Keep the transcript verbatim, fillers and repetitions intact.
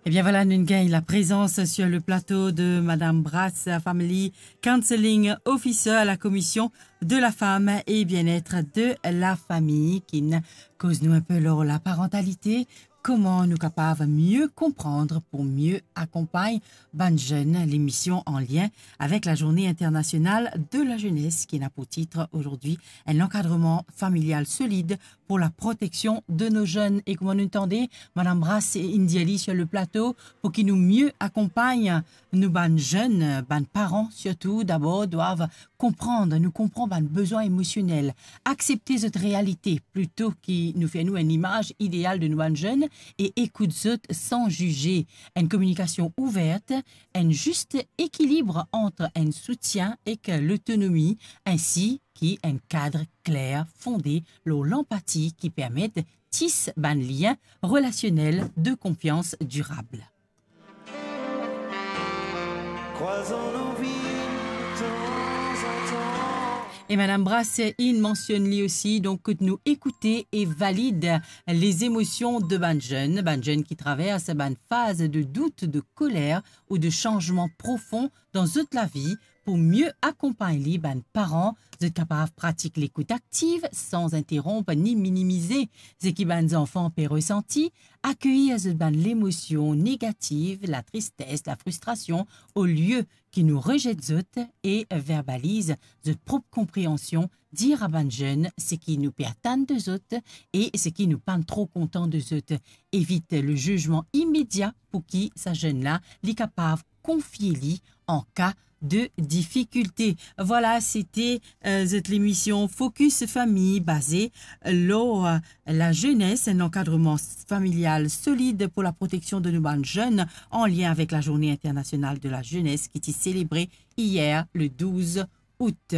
Ebien vwala, nou gagn la prezans sur le plato de Madame Brass, Family Counseling Officer à la Commission de la Femme et Bien-être de la Famille, ki'nn koz nou inpe lor laparantalite, kouma nou kapav mie konpran pou mie akonpagn bann zenn, lemision an lien avek la Journée Internationale de la Jeunesse, ki ena pou tit azordi, un encadrement familial solide pour la protection de nos jeunes. E kouma nou tande, Madame Brass inn dir li sur le plato, pou ki nou mie akonpagn nou bann zenn, bann paran sirtou, dabor dwav konpran, nou konpran bann bezwin emosionel, aksepte zot realite, plito ki nou fer nou enn imaz ideal de nou bann zenn e ekout zot san zize. Enn kominikasion ouver, enn zis ekilib ant enn soutien ek lotonomi, ensi ki enn kad kler fonde lor lanpati ki permet tis bann lien relasionel de konfians dirab. Krwaz an anvi tanzantan. E Madame Brass inn mansionn li osi, donk kot nou ekoute e valid les émotions de bann zenn, bann zenn ki travers bann faz de dout, de koler ou de sanzman profon dan zot lavi, pou mie akonpagn li bann paran, zot kapav pratik lekout aktiv san interonp ni minimize seki bann zanfan pe resanti, akeyir zot bann lemosion negativ, latristes, lafristrasion, olie ki nou rezet zot e verbaliz zot prop konpreansion, dir a bann zenn seki nou pe atann de zot e seki nou pa'nn tro kontan de zot. Evit le zizman imedia pou ki sa zenn la, li kapav konfie li an ka de difikilte. Vwala, sete, euh, zot lemision Focus Famille, baze lor, euh, la jeunesse, un encadrement familial solide pour la protection de nos bann zenn, an lien avek la Journée Internationale de la Jeunesse ki ti selebre iyer, le douz out.